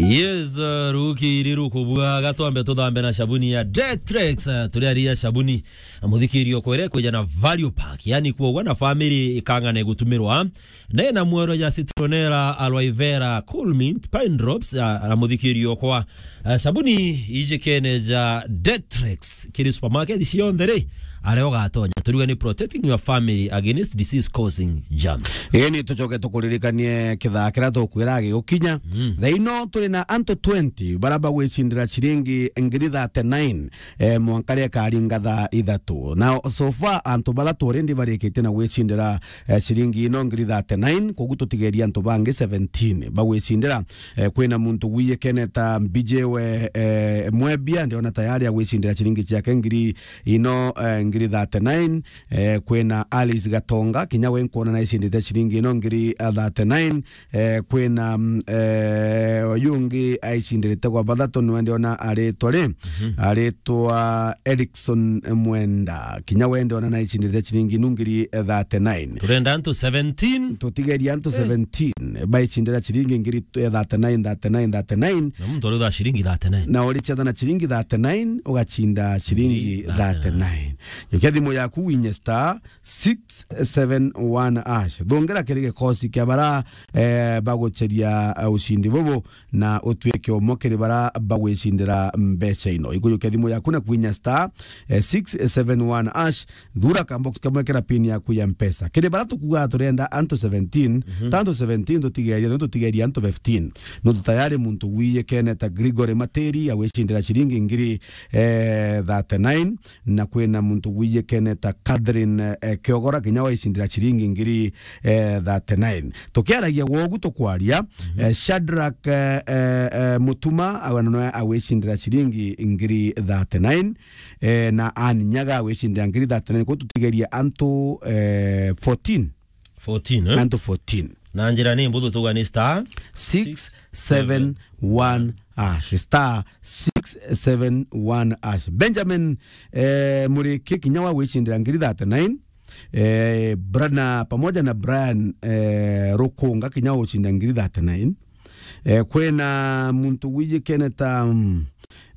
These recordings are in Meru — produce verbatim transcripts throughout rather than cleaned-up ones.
Yes, uh, ruki iri rukubua, gatwambe tuthambe na shabuni ya Detrex, uh, turiaria shabuni, uh, muthikiri okwere kwija na value pack, yani kuogwa na family ikang'ane gutumirwa. Nena mwero ya citronella, aloe vera, cool mint, pine drops, uh, na muthikiri okwa. Uh, shabuni ijikene ja Detrex, kiri supermarket cionthe ri, aria ugatonya. Turiuga ni protecting your family against disease causing germs. Ii ni tucoke tukuririkanie kithaa kiria tukwira gigukinya. Mm. Thaa ino turi na antu twenty bara bagwicindira ciringi ngiri thirty-nine, eh, mwanka ria ikaringa thaa ithatu. Na so far antu bathatu already barikitie na gwicindira, eh, ciringi ino ngiri thirty-nine, koguo tutigeria antu bangi seventeen bagwicindira. Eh, kwina muntu wiyikene ta Mbijiwe, eh, Mwebia, ndiona tayari agwicindira ciringi ciake ngiri ino, eh, ngiri thirty-nine. Eh, kwina Alice Gatonga, kinya we nkwona naicindite ciringi ino ngiri, eh, thirty-nine. Eh, kwina, mm, eh, uyu ungi aicindirite gwa bathatu, niwe ndiona aritwa ri, aritwa Erickson Mwenda. Kinya we ndiona naicindite ciringi inu ngiri, eh, thirty-nine. Turenda antu seventeen. Tutigeria antu seventeen baicindira ciringi ngiri, eh, thirty-nine, thirty-nine, thirty-nine. Na muntu arutha ciringi thirty-nine. Na uri chetha na ciringi thirty-nine, ugacinda ciringi thirty-nine. Jukia thimu yaku winye star six seven one hash. Thongera kiri gikosi kia bara, eh, bagucheria, eh, ucindi bubu, na utwike umwe kiri bara bagwicindira mbeca ino. Ikujukia thimu yaku na kwinya star, eh, six seven one hash. Thura ka box kamwe, kira pin yaku ya mpesa. Kiri bara tukuga turenda antu seventeen, ta antu seventeen tutigeria, no tutigeria antu fifteen. No tayari muntu wiyikene ta Gregory Materi, awicindira ciringi ngiri, eh, thirty-nine. Na kwina muntu wiyikene ta Catherine, eh, Kiogora, kinya waicindira ciringi ngiri, eh, thirty-nine. Tukiaragia gwogu tukwaria, eh, Shadrack, eh, eh, eh, Mutuma, awe noe awicindira ciringi ngiri thirty-nine, eh, na Anne Nyaga awicindira ngiri thirty-nine. Kuu tutigeria antu, eh, fourteen. Fourteen, eh? Antu fourteen. Na njira ni mbuthu tuga ni star six seven one hash. Star six seven one hash. Benjamin, eh, Muriki kinya wa gwicindira ngiri thirty-nine. Eh, Bra-, na pamoja na Brian, eh, Rukunga kinya wa gucinda ngiri thirty-nine. Eh, kwina muntu wijikene ta, mm,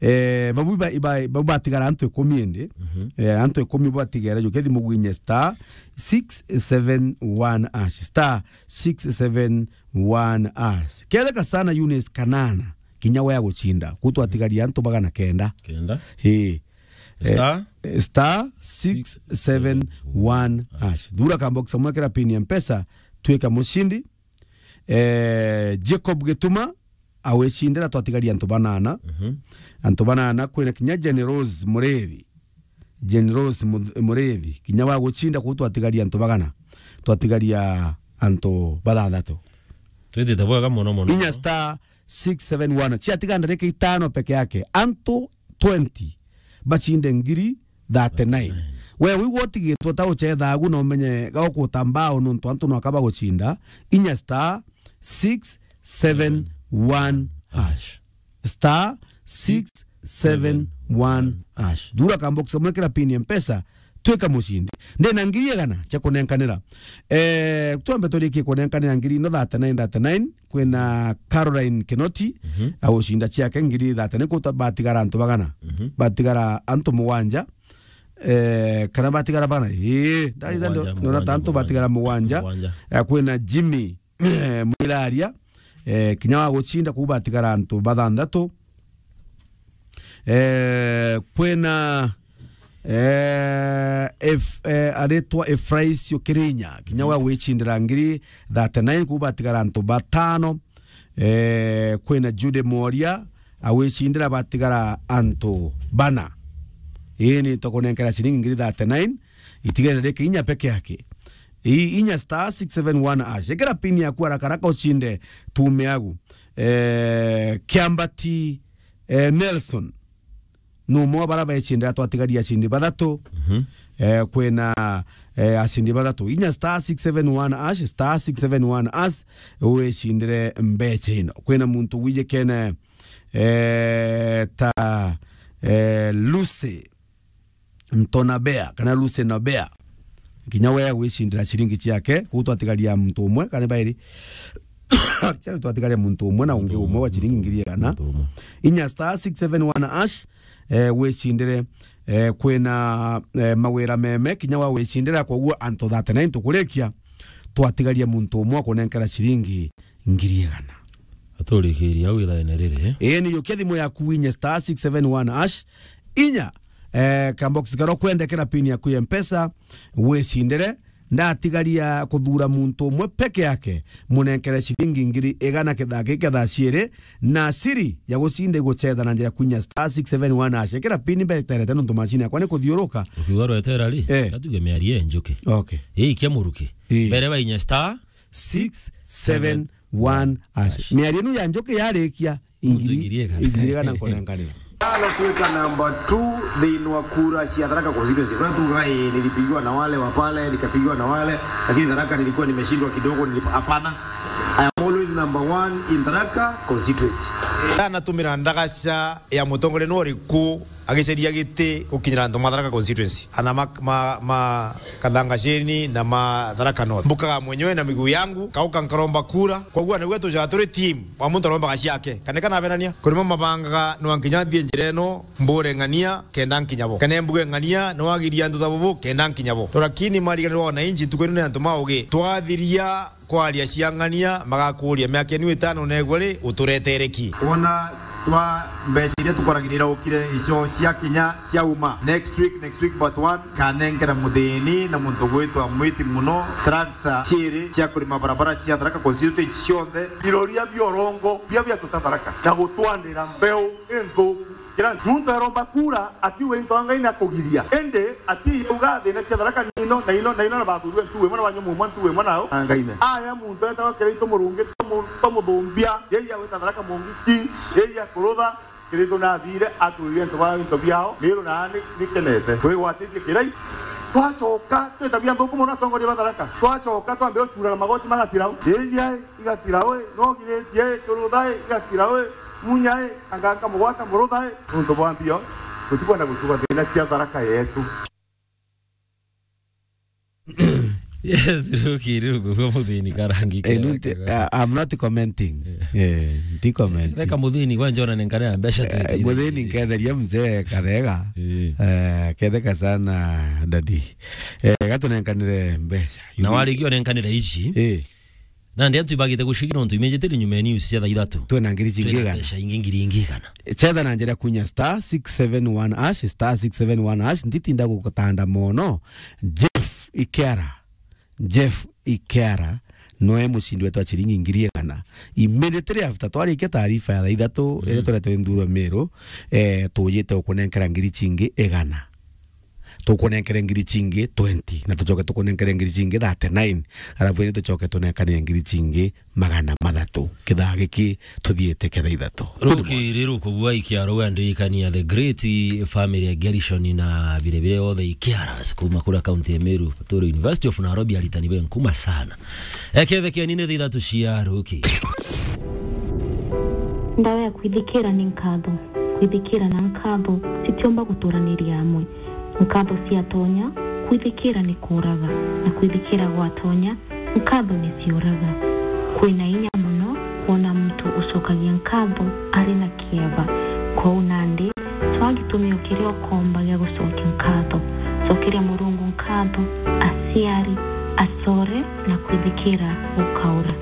eh, babu ba-, iba-, babu batigara antu ikumi indi. Eh, antu ikumi batigara, jukia thimu gwinye star six seven one hash, star six seven one hash. Ketheka sana Eunice Kanana, kinya we agucinda. Kuu twatigaria antu magana kenda. Kenda. Ii. Eh, star six seven one hash. Thura ka box kamwe, kira pin ya mpesa, twika mucindi. Eh, Jacob Gituma, awicindira, twatigaria antu banana. Antu banana, kwina kinya Jane Rose Murithi. Jane Rose Mu-, Murithi. Kinya wa gucinda kuu twatigaria antu bagana. Twatigaria antu bathanthatu. Twitite bwega mono mono. Inya star six seven one. Ciatiga ndarika itano peke yake. Antu twenty bacinde ngiri thirty-nine. We wigua utigitwe ta ucethagu na umenye gagukuta mbao nontu antu nwaka bagucinda. Inya star six seven one hash. Star six seven one hash. Thura ka box kamwe, kira pin ya mpesa, twika mucindi. Ndina ngiri igana cia kunenkanira. Eh, twambe turikie kunenkanira ngiri ino thirty-nine, thirty-nine. Kwina Caroline Kinoti, agucinda ciake ngiri thirty-nine. Kuu batigara antu bagana. Batigara antu mugwanja. Eh, kana batigara bana? Ii, ndaitha mugwanja, nona ta antu batigara mugwanja. Mugwanja. Eh, kwina Jimmy Mwiraria, eh, kinya wa gucinda, kuu batigara antu bathanthatu. Eh, kwina, eh, Ef-, eh, aritwa Efraisio Kirinya, kinya wa gwicindira ngiri thirty-nine, kuu batigara antu batano. Eh, kwina Jude Moria, awicindira, batigara antu bana. Ii ni tukunenkera ciringi ngiri thirty-nine, itigere riki inya peke yake. Ii, inya star six seven one hash. Ikira pin yaku haraka haraka ucinde tume yagu. Eh, Kiambati, eh, Nelson. Numwe wa bara becindira, twatigaria acindi bathatu. Eh, kwina, eh, acindi bathatu. Inya star six seven one hash, star six seven one hash, wicindire mbeca ino. Kwina muntu wijikene, eh, ta, eh, Lucy Ntonabea, kana Lucy Nabea. Kinya we gwicindira ciringi ciake, kuu twatigaria muntu umwe, kana bairi. Actually, twatigaria muntu umwe na ungi umwe wa ciringi ngiri igana. Muntu umwe. Inya star six seven one hash, eh, wicindire, eh, kwina, eh, mawira meme, kinya wa wicindira, koguo antu thirty-nine tukurikia, twatigaria muntu umwe wa kunenkera ciringi ngiri igana. Aturikiria au ithaene riri, eh? Ii, ni yukia thimu yaku winye star six seven one hash, inya, eh, kabox karo kwendekera pin yaku ya Mpesa, wicindire, ndatigaria kuthura muntu umwe peke yake, munenkere ciringi ngiri igana kithaa giki kia thaa ciiri, na siri ya gucinda igucetha na njira kwinya star six seven one hash. Ikira pin mbeterete nontu macini yakwa ni kuthiuruka. Ukiuga rwetera ri, eh, gatuge miario ya njuki. Okay. Ii, ikia muruki. Ii. Mbere bainya star six seven one hash. Miario inu ya njuki yarikia, ingiri, ingiri igana nkonenkanira. Anatuweka namba two thiini wa kura cia Tharaka constituency. Kwa tuga, eh, nilipigiwa na wale wa pale, nikapigiwa na wale, lakini Tharaka nilikuwa nimeshindwa kidogo, nilip-, hapana. I am always number one in Tharaka constituency. Anatumira ndagaca ya mutongoria no riku agiceria giti gukinyira antu ma Tharaka constituency. Ana ma, ma, ma Kathangasheni na ma Tharaka North. Mbukaga mwenyewe na miguu yangu, kauka nkaromba kura. Kwa guo niguo tujaga turi team. Wa muntu arombaga ciake. Kane kana abenania. Kurima mabangaga no nkinya thie njira ino, mbure ng'ania, kenda nkinya bo. Kane mbuge ng'ania, no agiria antu tha bubu, kenda nkinya bo. Lakini mariganirwa wananchi ntuku ino ni antu ma ugi. Twathiria kwaria cia ng'ania, magakuria, miaka inu itano negwe ri, uturetere ki? Wona twa mbeca iria tukoragirira ukire icio cia kinya cia uma. Next week, next week but one, kanenkera muthini na muntu gwitwa Mwiti Muno, tractor ciiri cia kurima barabara cia Tharaka constituency cionthe, iroria bia urongo, bia bia tuta Tharaka, na gutwandira mbeu inthuku. Kira muntu aromba kura, akiuga into Ngai na kugiria. Indi ati yauga thina cia Tharaka ni ino, na ino, na ino, na bathurwe ntu imwe na banywa mumwa ntu imwe nao, na Ngai ne. Aya muntu etagwa Kiraitu Murungi, twamu-, twamuthumbia, yeye agwita Tharaka Mungiki, yeye akurutha, Kiraitu nathire, atwirire into ba into biao, Miru na ni, ni kenete. Kwigwatitie Kirai. Twacoka, twitabia nthuku muno atongoria ba Tharaka. Twacoka, twambe gucurana magoti magatirau. Yeye ai, igatirau, no giritie, kurutha ai, igatirau, munya ai, anga nkamugwata murutha ai. Nuntu bwa mbio, tutikwenda gucuka thina cia Tharaka yetu. Yes, Ruki, riu ngugua muthini karangi. Eh, kega, nunti-, kega. Uh, I'm not commenting. Eh, nti comment. Reka muthini kwa njona nenkane ya mbeca tu. Eh, muthini nketheria mzee Kathega. Eh. Eh, ketheka sana daddy. Eh, gatunenkanire mbeca. Na warikio nenkanire ici. Eh. Nandi antu ibagite gucigi nontu imenjete ri nyuma ya news cia thaa ithatu. Twina ngiri cingi igana. Twina mbeca ingi ngiri ingi igana. Cetha na njira kunya star six seven one hash, star six seven one hash, nditinda gukutanda mono. Jeff Ikera. Jeff Ikera noe mucindi wetu wa ciringi ngiri igana. Immediately after twarikia taarifa ya thaa ithatu, mm, iria turete nthuro Miru, eh, tujite ukunenkera ngiri cingi igana. Tukunenkere ngiri cingi twenty, na tucoke tukunenkere ngiri cingi thirty-nine, arabu indi tucoke tunenkanire ngiri cingi magana mathatu. Kithaa giki tuthiite kia thaa ithatu. Ruki riru kubua ikiaro gwandirikania the great family ya Gerishon na birebire othe ikiaras kuma kura kaunti ya Meru, Paturu University of Nairobi, aritani be nkuma sana. Ekethe kiani ni thaa ithatu cia ruki. Ndawa ya kwithikira ni nkatho. Kwithikira na nkatho citiumba guturaniria amwe. Nkatho ciatonya, kwithikira ni kuuraga, na kwithikira gwatonya, nkatho ni ciuraga. Kwina inya mono kwona muntu ucokagia nkatho ari na kieba. Kwou nandi, cwaa gitumio kiria ukomba gia gucokia nkatho. Cokeria Murungu nkatho, aciari, acore, na kwithikira gukaura.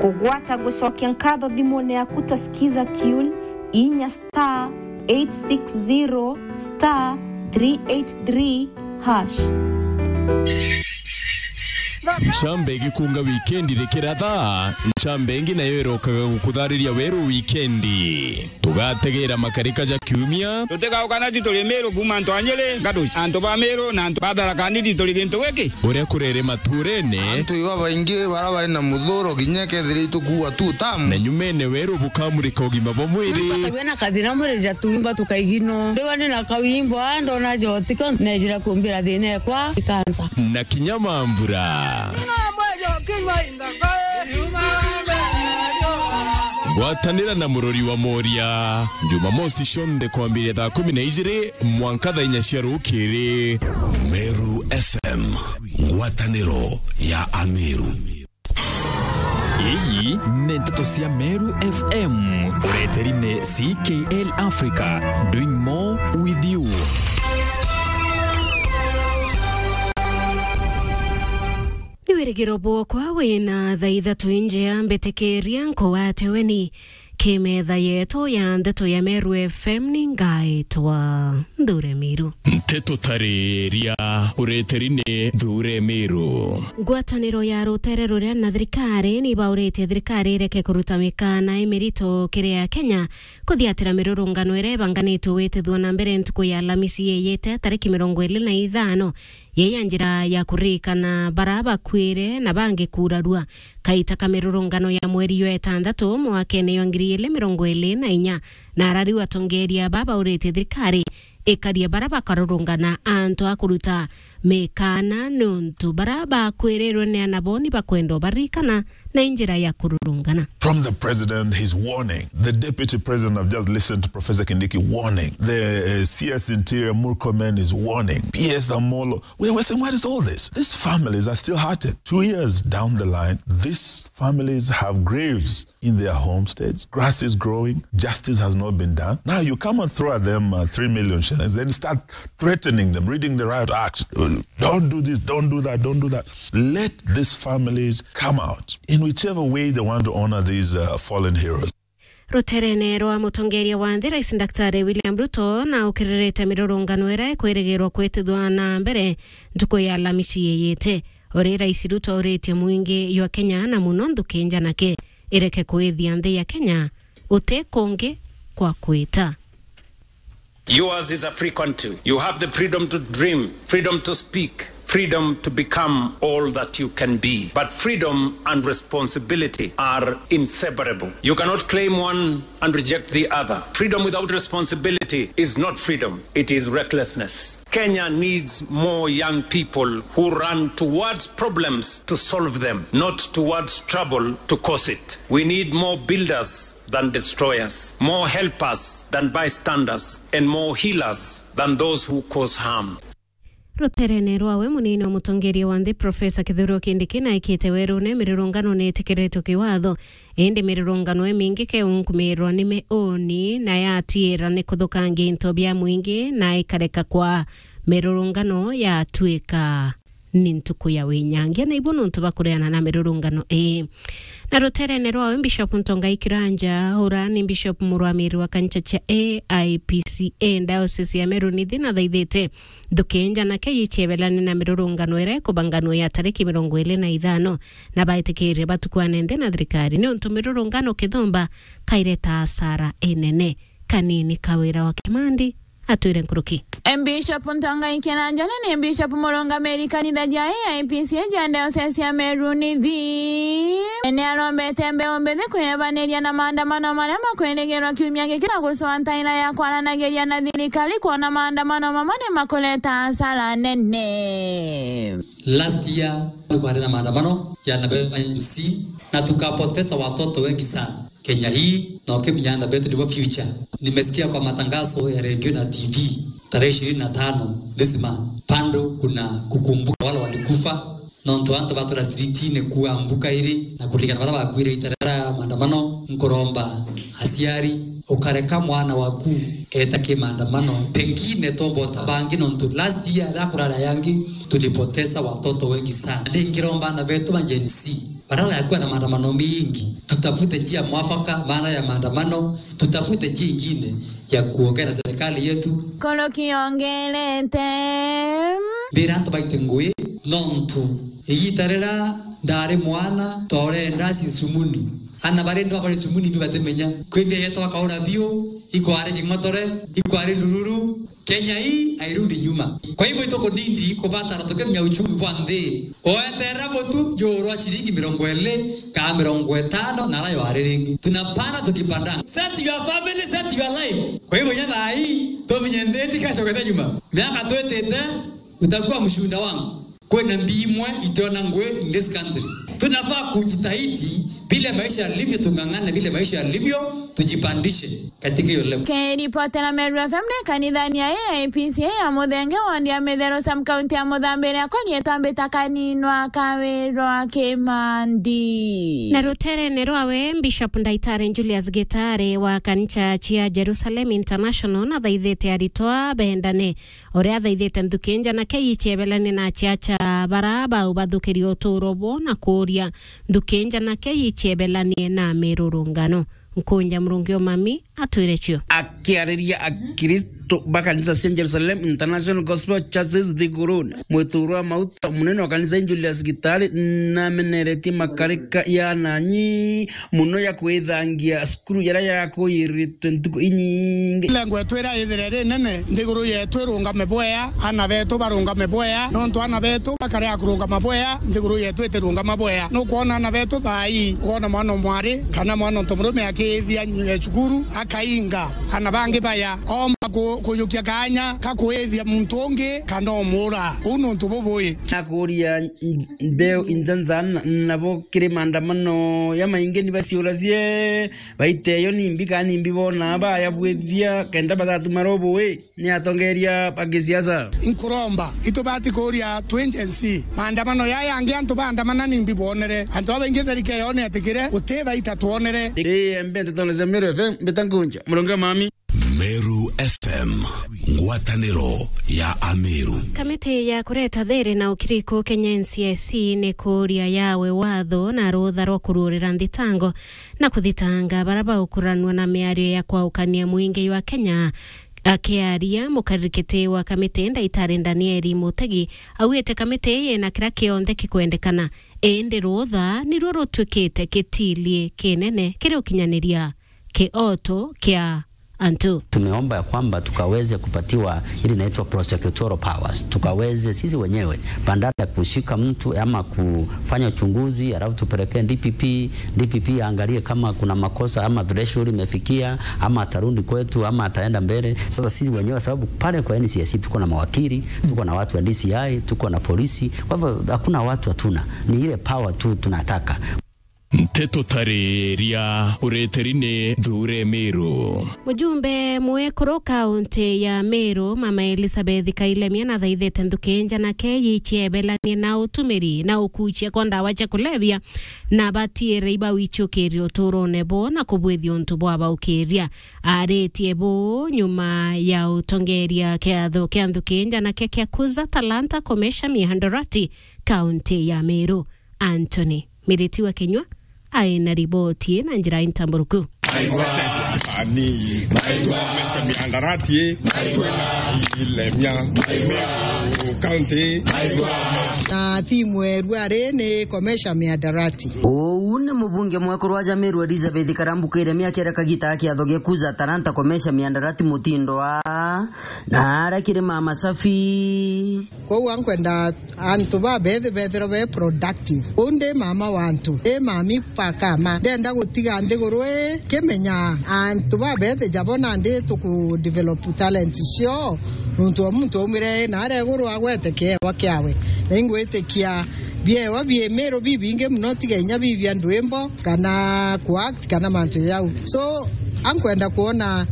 Kugwata gucokia nkatho thimune yaku ta Skiza Tune, inya star eight six zero star three eight three hash. Ncamba igikunga wikendi rikiratha, ncamba ingi nayo irokaga gukuthariria weru wikendi. Tugategera makarika ja kiumia. Tutigauka na ti turi Miru kuuma antu a Nyeri, Ngatuci, antu ba Miru na antu ba Tharaka Nithi turi gintu giki. Uria kurere maturene. Antu iba baingi bara bari na muthuro kinya kethira itukuua tu tamu. Na nyumene weru bukamurika ugima bwa mwiri. Twina kathina mwiri ja tuimba tukaigino. Ndiwa ni na kawimbo, a, ndona jotiko, nejira kumbira thina ekwa ikansa. Na kinya mambura. Gwatanira na Murori wa Moria, Jumamosi cionthe kwambiria thaa kumi na ijiri mwanka thaa inya cia rukiri. Meru F M, ngwataniro ya Ameru. Iyi ni nteto cia Meru F M, ureteri ni C K L Africa, doing more with you. Ni wirigiro bwokwa wina thaa ithatu injea, mbitikiria nkugwate ugeni ki metha yetu ya nteto ya Meru F M. Ni ngaitwa Nthure Miru. Nteto tariria, ureteri ni Nthure Miru. Ngwataniro ya rutere ruria na thirikari ni bauritie thirikari ireke kuruta mikana imirito kiri Akenya kuthiatira mirurungano iria ibanganitwe gwitithua na mbere ntuku ya Alamisi yiyite tariki mirongo iri na ithano, yei ya njira ya kuririkana bara bakuire na bangi kurarua kaita ka mirurungano ya mweri jwa itantatu mwakene jwa ngiri ijiri mirongo iri na inya. Na arariu atongeria aba bauritie thirikari ikarie bara bakarurungana antu a kuruta mikana, nontu bara bakwirirwe ni ana bo ni bakwenda ubaririkana na i njira ya kururungana. From the president, his warning. The deputy president, I've just listened to Professor Kindiki warning. The, uh, C S Interior Murkomen is warning. P S Amolo. We're, we're saying, "What is all this?" These families are still hurting. Two years down the line, these families have graves in their homesteads. Grass is growing. Justice has not been done. Now you come and throw at them, uh, three million shillings, then start threatening them, reading the Riot Act. Uh, "Don't do this, don't do that, don't do that." Let these families come out in whichever way they want to honor these, uh, fallen heroes. Ruterene rwa mutongeria wa nthi, Rais Daktari William Ruto na ukiririte mirurungano iria ikwirigirwa kwitithwa na mbere ntuku ya Alamisi yiyite. Uri Rais Ruto uritie mwingi jwa Kenya na muno nthuki njanake ireke kwithia nthi ya Kenya uti kungi kwa kwita. Yours is a free country. You have the freedom to dream, freedom to speak, freedom to become all that you can be. But freedom and responsibility are inseparable. You cannot claim one and reject the other. Freedom without responsibility is not freedom, it is recklessness. Kenya needs more young people who run towards problems to solve them, not towards trouble to cause it. We need more builders than destroyers, more helpers than bystanders, and more healers than those who cause harm. Ruterene rwawe, munini wa mutongeria wa nthi Professor Kithure Kindiki naikite werune mirurungano nitikiritwe kiwatho, indi mirurungano imingi keunkumirwa ni miuni na yatiira ni kuthukangia into bia mwingi na ikareka kwa mirurungano yatuika ni ntuku ya winyangia, na ibu nontu bwa kureana na mirurungano ii. Na ruterene rwawe, Bishop Ntongai Kiranja, ura ni Bishop murwamiri wa kanisa cia A I P C A Diocese ya Meru Nithi, nathaithite nthuki njanake yiciebelane na mirurungano iria ikubanganwa ya tariki mirongo iri na ithano, na baitikirie batukwane nthi na thirikari, niuntu mirurungano kithumba kaireta asara inene. Kanini Kawira wa Kimandi atwire nkuruki. Bishop Ntongai Kiranja ni Bishop murungamiri kanitha ja A I P C A ja Diocese ya Meru Nithi. Ni arombete mbeu mbithi kwiyebaniria na maandamano maria makwirigirwa kiumia giki na gucoa ntaira ya kwaranagiria na thirikari kwona maandamano mamwe ni makureta asara nene. Last year ni kwari na maandamano ya na M C na tukapoteza watoto wengi sana. Kenya hii, na ukimenya ana betu nibo future. Nimesikia kwa matangazo ya redio na T V, tarehe ishirini na tano this month, bado kuna kukumbuka wale walikufa. Nontu antu batura streetine kuambuka iri na kuririkana baria bakuire ita ria maandamano, nkuromba aciari, ukareka mwana waku eta ki maandamano. Pengine tombota bangi, nontu last year riria kurari yangi tulipoteza watoto wengi sana. Ndingiromba ana betu ba Gen Z, badala ya kuwa na maandamano mingi, tutafute njia mwafaka baada ya maandamano, tutafute njia ingine ya kuongea na serikali yetu. Koroki ongerete. Mbira antu baite ngui, nontu igita riria ndari mwana, tore ndasi cumuni. Ana bari ndu bakore cumuni bi batimenya. Kwithia yeto akaura biu, ikwari king'otore, ikwari ndururu, Kenya hii hairudi nyuma. Kwa hivyo, itukunindi kubatara tukimenya uchumi bwa nthi. Oeterera mutu juu rwa ciringi mirongo iri kana mirongo itano na ara yari ringi. Tunapanda tukipanda. Set your family, set your life. Kwa hivyo, nya thaa hii, tumenye nthi itikacokete nyuma. Miaka twitite, utakuwa mshuhuda wangu. Kwina mbii imwe itiona ngui in this country. Tunafaa kujitahidi vile maisha yalivyo, tung'ang'ane vile maisha yalivyo, tujipandishe katika hiyo level. Kiripotera Meru F M ni kanithani ya A I P C A ya Muthenge, wondi ya Mitheru, sub county ya Muthambiria, akonietwa Mbita Kaninwa Kawirwa Kimandi. Na ruterene rwawe, Bishop Ndaitari Julius Gitari wa kanisa cia Jerusalem International nathaithite aritwa bendane, uria athaithite nthuki njanake ichiebelanie na aciaca bara bau bathukirie uturo bwo na kuuria nthuki njanake ichiebelanie na mirurungano. Nkunja Murungi Omami atwire cio. Akiariria Akristo ba kanisa cia Jerusalem International Gospel Churches Thiguruni, mwituru wa mauta munene wa kanisa Julius Gitari nameneretie makarika ya nanyi muno ya kwithangia cukuru jaria jarakuyiritwe ntuku inyingi. Lengo yetu ira ithire rinene, nthiguru yetu irungame bwea, ana betu barungame bwea, nontu ana betu bakarea kurungama bwea, nthiguru yetu itirungama bwea. Nukwona ana betu thaa ii, ukoona mwana o mwari kana mwana o ntomurume akiithia nyu-, eh, cukuru, akainga, ana bangi baya, omba ku-, kujukia kaanya ka kwithia muntu ungi kana umura. Uu ni untu bubui. Nakuria mbeu injanza na-, nabo kiri maandamano ya maingi ni baciuracie, baite yo nimbi kana nimbi bona baya bwithia kenda batatuma robo wi ni atongeria ba gisiasa. Nkuromba, itubati kuria twi Gen Z. Maandamano ya yangi antu baandamana nimbi bwonere? Antu babaingi tharike yone atikire, uti baita twonere. Ii, embe ntetone cia Meru F M, mbita nkunja. Murungi Omami. Meru F M, ngwataniro ya Ameru. Kamiti ya kureta thiri na ukiriku Kenya N C I C ni kuria yawe watho na rutha rwa kuruurira nthitango na kuthitanga bara baukuranua na miario ya kwaukania mwingi jwa Kenya. Akiaria, mukarikiti wa kamiti Ndaitari Danieli Mutegi augite kamiti ii yina kiria kionthe kikwendekana, indi rutha niruo rutuikite kitilie kinene kiri ukinyaniria kioto kia antu. Tumeomba ya kwamba tukaweze kupatiwa ile inaitwa prosecutorial powers, tukaweze sisi wenyewe, badala ya kushika mtu ama kufanya uchunguzi alafu tupelekee D P P, D P P aangalie kama kuna makosa ama threshold imefikia ama atarudi kwetu ama ataenda mbele. Sasa sisi wenyewe, sababu pale kwa N C I C tuko na mawakili, tuko na watu wa D C I, tuko na polisi, kwa hivyo hakuna watu hatuna, ni ile power tu tunataka. Nteto tariria ureteri ni Thure Meru. Mujumbe mwekuru kaunti ya Meru, Mama Elizabeth Kailemia, nathaithite nthuki njanake yichiebelanie na utumiri na ukuchia kwa ndawa cia kulevya, na batiire ibauichukiria uturone bo na kubwithia untu bwabaukiria. Aritie bu nyuma ya utongeria kiatho kia nthuki njanake kia Kuza Talanta Commercial Mihadarati, kaunti ya Meru. Anthony Miriti wa Kinyua aina riboti na njira intamburuku. Aigua, ani, aigua, Mesha Mihadarati, aigua, Ilemia, aigua, County, aigua. Na timu erua ari ni Commercial Mihadarati. Uu ni mubunge mwekuru wa Meru Elizabeth Karambu Kairemia akiera kagita ga kiatho gia Kuza Talanta Commercial Mihadarati mutindo wa na aria kiri Mama Safi. Kwou ankwenda antu babethi bethirwe be productive. Uu ndi mama wa antu, ndi mami pakama. Ndenda gutiga nthiguru ii kimenya antu babethi jabo nandi tuku develop talent cio, nuntu o muntu aumire na aria iguru agwete kiewa kiawe. Na ingwitikia biewa bie Meru bibingi muno, tiga inya bibia ndwimbo kana ku act kana mantu jau. So, ankwenda kwona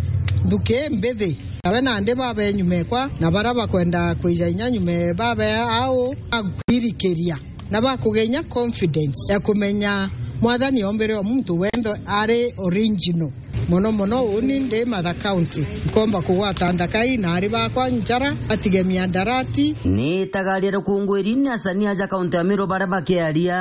nthuki mbithi. Nawe nandi babe nyuma ekwa, na baria bakwenda kwija inya nyuma babe au, akwirikiria na bakugenya confidence ya kumenya Mwathani ombire o muntu wenthe ari original. Mono mono uni ndi Matha County, nkomba kugwata ndakai na ari bakwa njara, atige miandarati. Ni itagaria rukungwiri ni asani aja kaunti ya Meru baria bakiaria.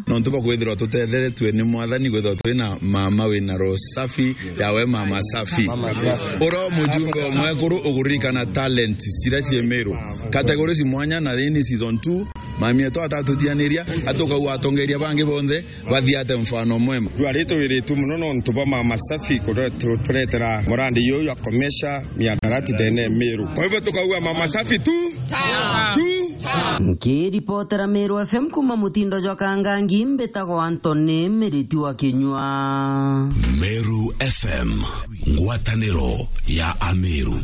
Nontu bwa kwithirwa tutetheretue ni Mwathani, kwithirwa twina mama wina roho safi, yawe mama safi. Mama safi. Ura mujumbe o mwekuru uguririkana talent ciria cii Meru. Categories mwanya na rini season two, mami etu atatutianiria, atukau atongeria bangi bonthe, bathiate mfano mwema. Rwari twiritwe muno nontu bwa mama safi kuretu-, kuretera murandi uyu akomesha miadarati ndene Meru. Kwa hivyo tukauga mama safi tu. Tu. Nkiripotera Meru F M kuma mutindo jwa Kangangi, mbitagwa Anthony Miriti wa Kinyua. Meru F M, ngwataniro ya Ameru.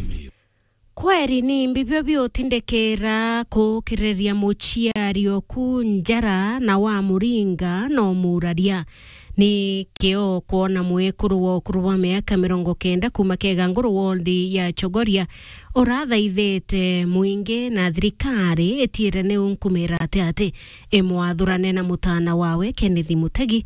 Kweri ni mbibio biutindikira kukiriria muciari oku njara na wamuringa na umuraria. Ni kio kwona mwekuru wa ukuru bwa miaka mirongo kenda kuuma Keganguru ward ya Chogoria urathaithite mwingi na thirikari itiire ni unkumira ati ati imwathurane na mutana wawe Kenneth Mutegi